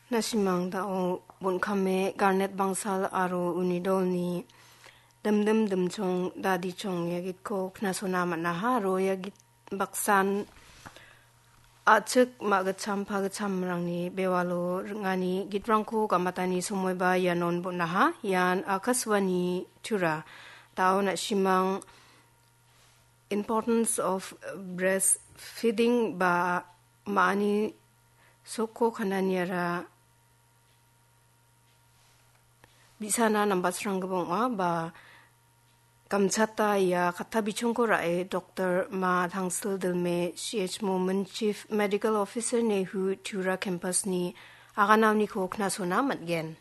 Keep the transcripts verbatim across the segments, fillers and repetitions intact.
Na·simang da·o bon·kame Garnet Bangsal aro uni dolni Dimdim Dimchong Dadichong ia gitko knasona man·aha aro ia git baksan a·chik ma·gitcham pagitchamrangni bewalo ring·ani gitrangko gamatani somoiba ianon bon·aha. Ian Akashvani Tura. Da·o na·simang importance of breastfeeding ba ma·ani sokko kananiara bi·sana nambatsranggipa ong·a ba gamchata ia katta bichongko ra·e Doktor Ma Tangsil Dilme, C H Momin, Chief Medical Officer, Nehu Tura Campus-ni aganaoniko knasona man·gen.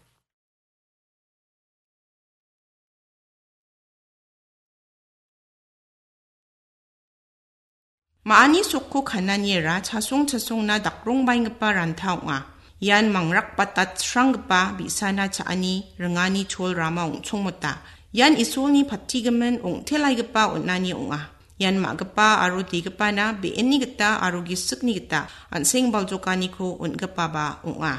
Ma·ani sokko kananiara chasong chasongna dakrongbaenggipa ranta ong·a. Ian mangrakbatatsranggipa bi·sana cha·ani ringani cholrama ong·chongmota. Ian Isolni patigimin ong·telaigipa on·ani ong·a. Ian ma·gipa aro degipana be·enni gita aro gisikni gita an·seng baljokaniko on·gipaba ong·a.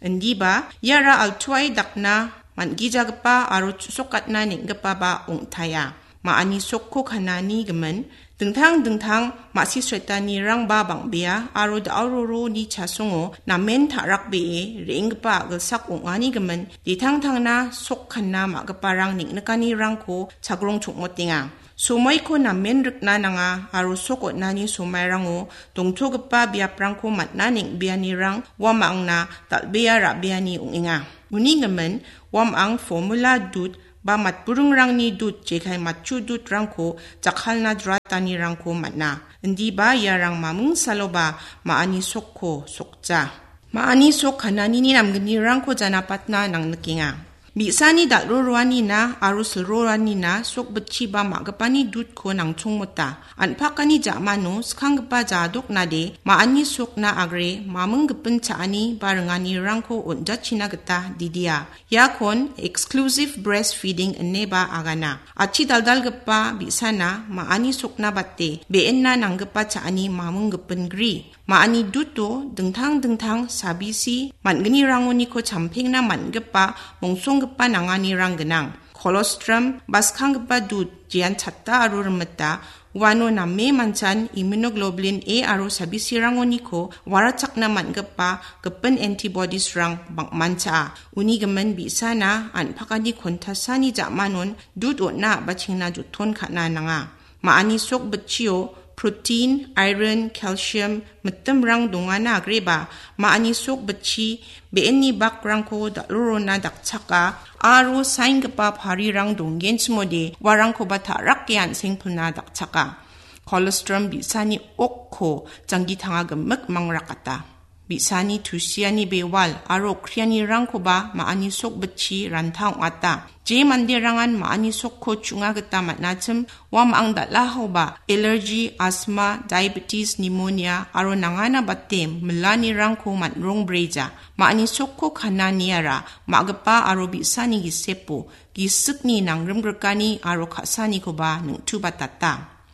Indiba iara altuae dakna man·gijagipa aro chu·sokatna neng·gipaba ong·taia. Ma·ani sokko kanani gimin dingtang dingtang ma·sisretanirangba bang·bea aro da·o roroni chasongo namen ta·rakbee re·enggipa a·gilsak ong·ani gimin ditangtangna sok kanna ma·giparang neng·nikanirangko chagrong chongmotenga. Somoiko namen rikna nanga aro sok on·ani somairango dongtogipa biaprangko man·na neng·beanirang uamangna dal·bea ra·beani ong·enga. Uni gimin uamang formula dud ba matburingrangni dud jekai matchu dudrangko jakkalna jratanirangko man·a. Indiba iarang maming saloba ma·ani sokko sokja. Ma·ani sok kananini namgnirangko janapatna nangnikenga. Bi·sani dal·ro roanina aro silro roanina sok bitchi ba ma·gipani dudko nangchongmota. An·pakani ja·mano skanggipa jadoknade ma·ani sokna agre maming gipin cha·ani ba ringanirangko on·jachina gita didia. Iakon exclusive breastfeeding ineba agana. Achi daldalgipa bi·sana ma·ani sokna bate be·enna nanggipa cha·ani maming gipin gri. Ma·ani duto dingtang dingtang sabisi man·gnirangoniko champengna man·gipa mongsonggipa nanganirang gnang. Kolostrum, ba skanggipa dud, jean chatta aro rimita, uano name manchan immunoglobulin A aro sabisirangoniko warachakna man·gipa gipin antibodiesrang bang·mancha. Uni gimin bi·sana an·pakani kontasani ja·manon dud on·na a·bachengna joton ka·na nanga. Ma·ani sok bitchio protein, iron, calcium, mitimrang dongana agreba, ma·ani sok bitchi be·enni bakrangko dal·rorona dakchaka aro saenggipa parirang donggenchimode uarangkoba ta·rake an·sengpilna dakchaka. Kolostrum bi·sani okko janggi tanga gimik mangrakata. Bi·sani tusiani bewal aro okrianirangkoba ma·ani sok bitchi ranta ong·ata. Je manderangan ma·ani sokko chu·nga gita man·achim, uamang dal·ahoba allergy, asthma, diabetes, pneumonia aro nangana bate milanirangko man·rongbreja. Ma·ani sokko kananiara ma·gipa aro bi·sani gisepo gisikni nangrimgrikani aro ka·sanikoba neng·tubatata.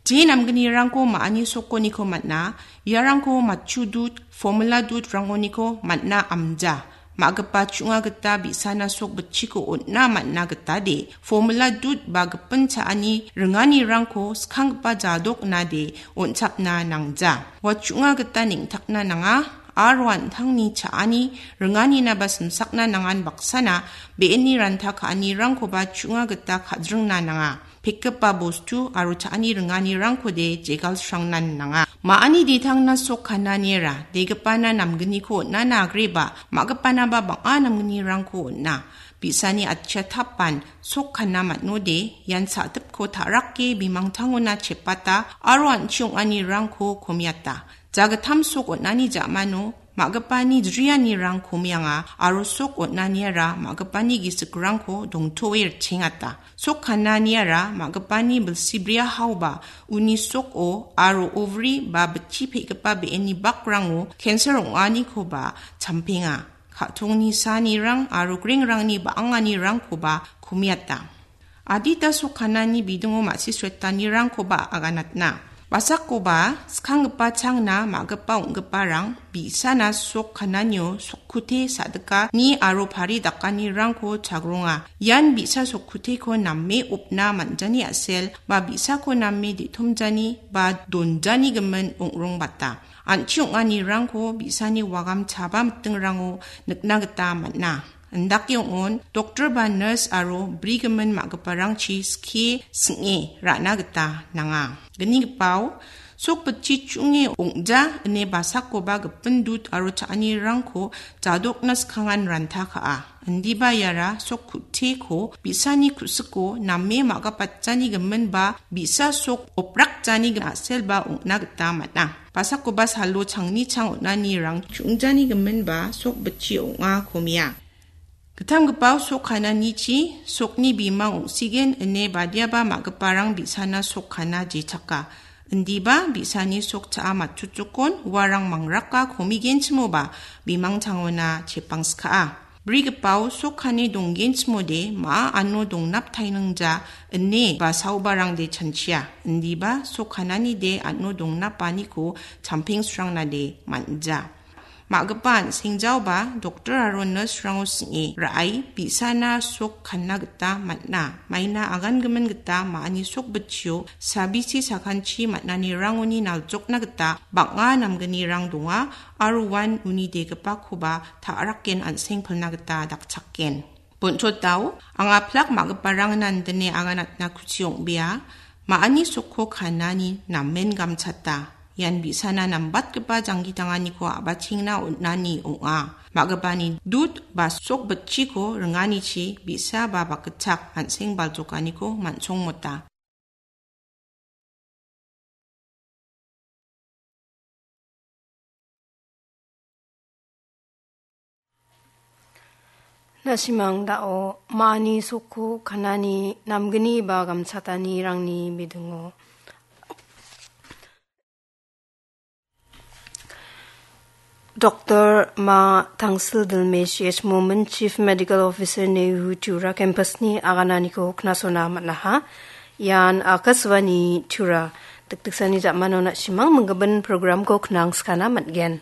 Je namgnirangko ma·ani sokoniko man·a, iarangko matchu dud, formula dud rangoniko man·a amja. Ma·gipa chu·nga gita bi·sana sok bitchiko on·na man·a gitade, formula dud ba gipin cha·ani ringanirangko skanggipa jadok nade on·chapna nangja. Ua chu·nga gita neng·takna nanga, aro an·tangni cha·ani ringanina ba simsakna nangan baksana be·eni ranta ka·anirangkoba chu·nga gita ka·dringna nanga. Pekgipa bostu aro cha·ani ringanirangkode jegalsrangnan nanga. Ma·ani ditangna sok kananiara, degipana namgniko on·ana agreba, ma·gipanaba bang·a namgnirangko on·a. Bi·sani atchia tapan sok kana man·ode, ian sa·dipko ta·rake bimangtangona chepata aro an·chi ong·anirangko komiata. Jagittam sok on·ani ja·mano ma·gipani jrianirang komianga aro sok on·aniara ma·gipani gisikrangko dongtoe ritchengata. Sok kananiara ma·gipani bilsibria haoba uni soko aro ovary ba bitchi pe·gipa be·eni bakrango cancer ong·anikoba champenga. Ka·tongni sanirang aro grengrangni ba·anganirangkoba komiata. Adita sok kanani bidingo ma·sisretanirangkoba aganatna. Basakoba skanggipa changna ma·gipa ong·giparang bi·sana sok kananio sokkute sa·dikani aro pari dakanirangko chagronga. Ian bi·sa sokkuteko name opna man·jani a·sel ba bi·sako name de·tomjani ba donjani gimin ong·rongbata. An·chi ong·anirangko bi·sani wagam chaba mitingrango nikna gita man·a. Indake ong·on, doktor ba nurse aro brigimin ma·giparangchi skie sing·e ra·na gita nanga. Gnigipao, sok bitchi chunge ong·ja ine basakoba gipin dut aro cha·anirangko jadokna skangan ranta ka·a. Indiba iara sok kuteko bi·sani ku·siko name ma·gapatjani gimin ba bi·sa sok oprakjani a·selba ong·na gita man·a. Basakoba salo changni chang on·anirang chungjani gimin ba sok bitchi ong·a komia. Gittamgipao sok kananichi sokni bimang ong·sigen ine badiaba ma·giparang bi·sana sok kana jechaka. Indiba bi·sani sok cha·a matchotjokon uarang mangraka komigenchimoba bimang changona chepangska·a. Brigipao sok kane donggenchimode ma·a ano dongnap tainingja ine ba saobarangde chanchia. Indiba sok kananide ano dongnapaniko champengsrangnade man·ja. Ma·gipa an·sengjaoba doktor aro nurse-rango sing·e ra·ai bi·sana sok kanna gita man·a. Maina agangimin gita ma·ani sok bitchio sabisi sakanchi man·anirangoni naljokna gita bang·a namgnirang donga aro uan uni degipakoba ta·raken an·seng pilna gita dakchaken. Bonchotao, anga plak ma·giparangna indine aganatna kuchi ong·bea, ma·ani sokko kanani namen gamchata. Ian bi·sana nambatgipa janggi tanganiko a·bachengna on·ani ong·a. Ma·gipani dut ba sok bitchiko ringanichi bi·sa ba bakgitchak an·seng baljokaniko man·songmota. Na·simang dao ma·ani sokko kanani namgni ba gamchatanirangni bidingo. Doktor Ma Tangsil Dilme, C H Momin, Chief Medical Officer, Nehu Tura Campus-ni agananiko knasona man·aha. Ian Akashvani Tura. Dikdiksani jamano na·simang minggimin program-ko knangskana man·gen.